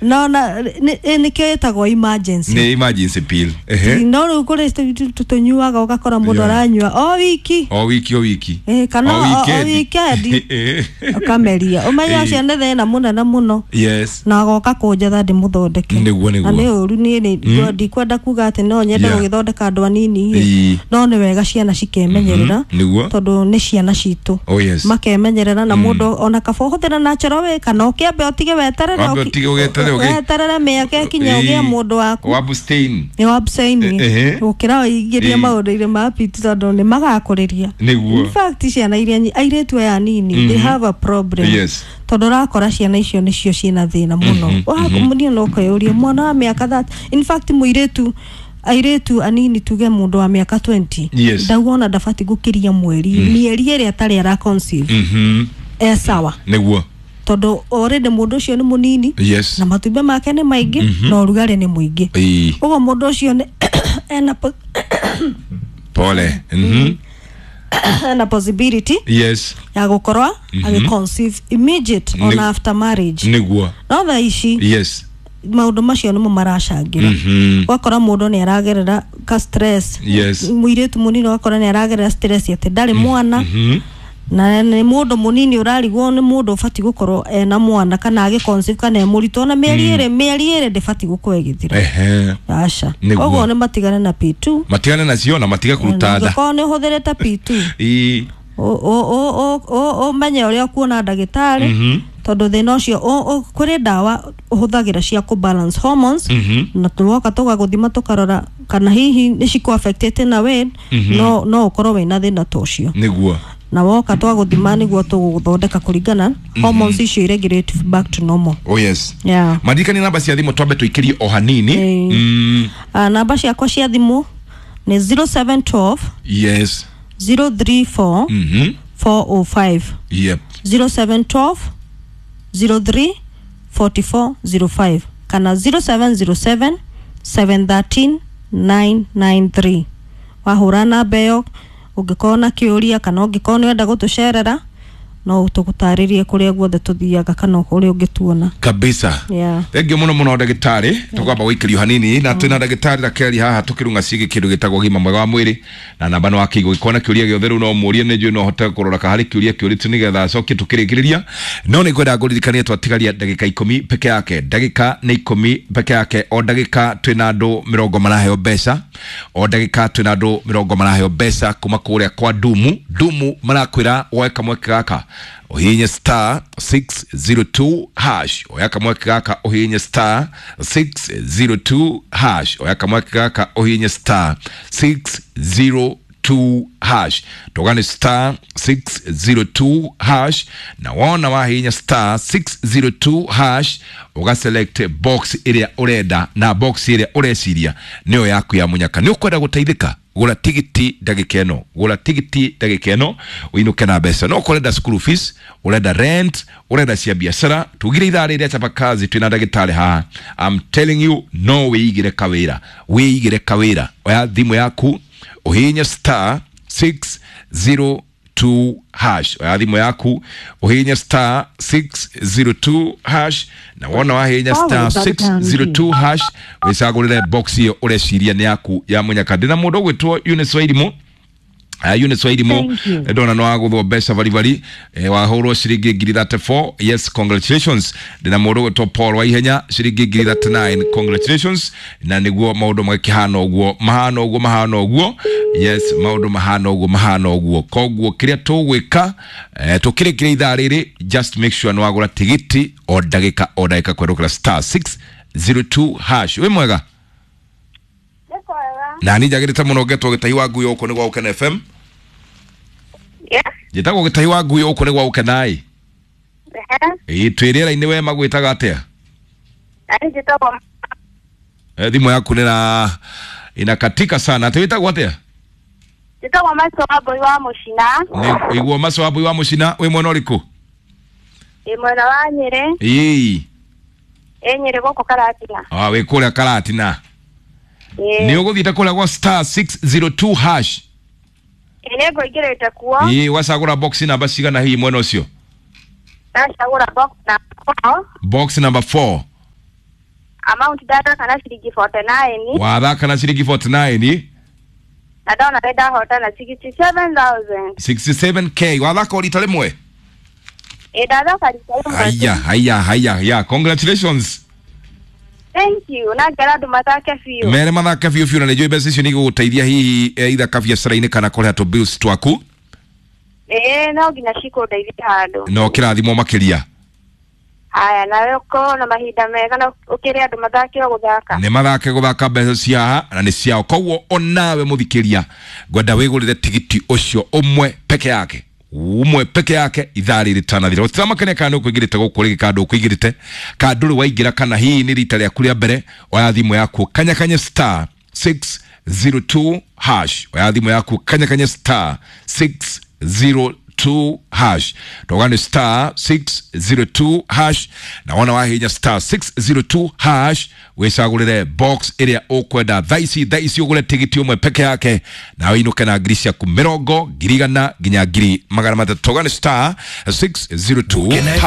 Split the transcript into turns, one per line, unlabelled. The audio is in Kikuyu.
No na nĩkĩo ĩtagwo emergency.
Nĩ emergency pill. Ehe.
No rĩu kũrĩ tũnyuaga ũgakora mũndũ aranyua o wiki.
O wiki, o wiki.
Eh, kana
o
o weekend. Ũkameria ũmenye ũcio nĩ thĩna mũnene mũno. Na agoka kũnjetha ndĩmũthondeke.
Nĩguo.
Na nĩ ũru niĩ nĩ ndikwenda kuga atĩ no nyende gũgĩthondeka andũ anini. No nĩ wega ciana cikemenyerera. Tondũ nĩ ciana citũ.
Oh yes.
Makemenyerera na mũndũ ona kaba ũhũthĩre natural way kana ũkĩambe ũtige weterere.
Wambe ũtige ũgeterere
weterere mĩaka ĩkinye ũgĩe mũndũ waku.
Wa abstain.
Nĩ wa abstain.
Ehe.
Gũkĩra ũingĩrie maũndũ-inĩ ma piti tondũ nĩ magakũrĩria. In fact ciana iria airĩtu aya anini, they have a problem. Tondũ ũrakora ciana icio nĩcio ciĩna thĩna mũno. Niĩ no kwĩyũria mwana wa mĩaka that in fact mũirĩtu airĩtu anini tuge mũndũ wa mĩaka 20 ndauga ona ndabatiĩ gũkĩria mweri mĩeri ĩrĩa atarĩ ara conceive e sawa. Tondũ already mũndũ ũcio nĩ mũnini na matumbĩ make nĩ maingĩ na ũrugarĩ nĩ mũingĩ. Ũguo mũndũ ũcio nĩ ena
Pole.
Ena possibility ya gũkorwo agĩ conceive immediate on after marriage. No thaa ici maũndũ macio nĩmo maracangĩra. Ũgakora mũndũ nĩ aragerera ka stress. Mũirĩtu mũnini ũgakora nĩ aragerera stress atĩ ndarĩ mwana. Na nĩ mũndũ mũnini ũrarigwo nĩ mũndũ ũbatiĩ gũkorwo ena mwana kana agĩ conceive kana e mũritũ ona mĩeri ĩrĩ mĩeri ĩrĩ ndĩbatiĩ gũkorwo ĩgĩthira. Aca. Koguo nĩ matigane na P2.
Matigane nacio na matige kũruta nda.
Ũngĩkorwo nĩ ũhũthĩrĩte P2 ũmenye ũrĩa ũkuona ndagĩtarĩ tondũ thĩna ũcio kũrĩ ndawa ũhũthagĩra cia kũ balance hormones na tũgoka tũgagũthima tũkarora kana hihi nĩ cikũ affected na we no ũkorwo wĩna thĩna ta ũcio. Na woka twagũthima nĩguo tũgũthondeka kũringana hormones icio iregulate back to normal.
Oh yes.
Yeah.
Maririkanie namba cia thimũ twambe tũikĩrie o hanini.
Namba ciakwa cia thimũ nĩ 0712 034 405. 0712 03 4405 kana 0707 713 993. Wahũra namba ĩyo ũngĩkorwo na kĩũria kana ũngĩkorwo nĩ ũrenda gũtũcerera no tũgũtarĩrie kũrĩa guothe tũthiaga kana kũrĩa ũngĩtuona.
Kabisa. Thengiũ mũno mũno ndagĩtarĩ, tũkwamba gũikĩrio hanini na twĩna ndagĩtarĩ Rakeli haha tũkĩrunga ciĩgiĩ kĩndũ gĩtagwo ũgima mwega wa mwĩrĩ na namba nĩ wakĩigwo gĩkorwo na kĩũria gĩothe rĩu no mũrie nĩ njũĩ no hote kũrora ka harĩ kĩũria kĩũrĩtio nĩgetha acokie tũkĩrĩkĩrĩria no nĩ ngwenda ngũririkanie twatigaria ndagĩka 10 peke yake ndagĩka nĩ 10 peke yake o ndagĩka twĩna andũ mĩrongo maraheo mbeca o ndagĩka twĩna andũ mĩrongo maraheo mbeca kuma kũrĩa kwa Dumu. Dumu marakwĩra woe kamweke gaka ũhihinye star 602 hash oya kamweke gaka ũhihinye star 602 hash oya kamweke gaka ũhihinye star 602 hash tũgane star 602 hash na wona wahihinya star 602 hash ũgaselect box ĩrĩa ũrenda na box ĩrĩa ũreciria nĩyo yaku ya mũnyaka. Nĩ ũkwenda gũteithĩka gũra tigiti ndagĩka ĩno gũra tigiti ndagĩka ĩno ũinũke na mbeca no ũrenda school fees ũrenda rent ũrenda cia biacara tugire ithaa rĩrĩa chapa kazi twĩna ndagĩtarĩ haha. I'm telling you no wĩigĩre kawĩra wĩigĩre kawĩra oya thimũ yaku ũhihinye star 602 hash oya thimũ yaku ũhihinye star 602 hash na wona wahihinya star 602 hash wĩcagũrĩre box ĩyo ũreciria nĩ yaku ya mũnyaka. Ndĩna mũndũ ũgwĩtwo Eunice Wairimu. Eunice Wairimu ndona no wagũthwo mbeca baribari wahũrwo ciringi ngiri 34. Yes, congratulations. Ndĩna mũndũ ũgwĩtwo Paul Waihenya ciringi ngiri 39. Congratulations. Na nĩguo maũndũ magĩkĩhana ũguo mahana ũguo mahana ũguo. Yes, maũndũ mahana ũguo mahana ũguo. Koguo kĩrĩa tũgwĩka tũkĩrĩkĩria ithaa rĩrĩ just make sure nĩ wagũra tigiti o ndagĩka o ndagĩka kwerũkĩra star 602 hash. Wĩ mwega? Na niĩ njagĩrĩte mũno ngetwo Gĩtahi wa Ngui gũkũ nĩ gwa Gũkena FM. Njĩtagwo Gĩtahi wa Ngui gũkũ nĩ gwa Gũkena ĩ. Ĩĩ twĩ rĩera-inĩ we magwĩtaga atĩa? Thimũ yaku nĩ inakatika sana. Atĩ wĩtagwo atĩa?
Njĩtagwo Maso wa Mbui wa Mũcina.
Nĩ iguo Maso wa Mbui wa Mũcina wĩ mwena ũrĩkũ?
Ĩ mwena wa Nyĩrĩ.
Ĩĩ.
Ĩ Nyĩrĩ gũkũ Karatina.
Ah, wĩ kũrĩa Karatina. Nĩ ũgũthiĩte kũrĩa gwa star 602 hash.
Ĩ nĩ ngũingĩrĩte kuo.
Ĩĩ ũgacagũra box namba cigana hihi mwena ũcio?
Ndacagũra box number 4.
Box number 4.
Amount ndathaka na ciringi 49.
Wathaka na ciringi 49.
Na ndona nĩ ndahotana 67,000.
67K wathaka o rita rĩmwe?
Ĩ, ndathaka rita rĩmwe.
Haya, haya, haya, haya, congratulations.
Thank you. Na ngera andũ mathake biũ.
Mere mathake biũ biũ, na nĩ njũĩ mbeca icio nĩ igũgũteithia hihi either kabiacara-inĩ kana kũrĩha tũ bills twaku.
Ĩ, no nginya cikũndeithia handũ.
No kĩrathimwo makĩria.
Haya, nawe ũkorwo na mahinda mega na ũkĩre andũ mathake o gũthaka.
Nĩ mathake gũthaka, mbeca cia haha na nĩ ciao. Koguo onawe mũthikĩria, ngwenda wĩgũrĩre tigiti ũcio ũmwe peke yake, ũmwe peke yake, ithaa rĩrĩ rĩtanathira. Gũtiramakania kana nĩ ũkũingĩrĩte gũkũ rĩngĩ kana ndũkũingĩrĩte, kana ndũrĩ waingĩra, kana hihi nĩ rita rĩaku rĩa mbere, oya thimũ yaku, kanyakanye star 602 hash. Oya thimũ yaku, kanyakanye star 602 hash. Ndoga nĩ star 602 hash, na wona wahinya star 602 hash, wĩcagũrĩre box ĩrĩa ũkwenda thaa ici. Thaa ici ũgũre tigiti ũmwe peke yake na wĩinũke na ngiri ciaku mĩrongo, 100,000 nginya 300,000. Toga nĩ star 602 hash.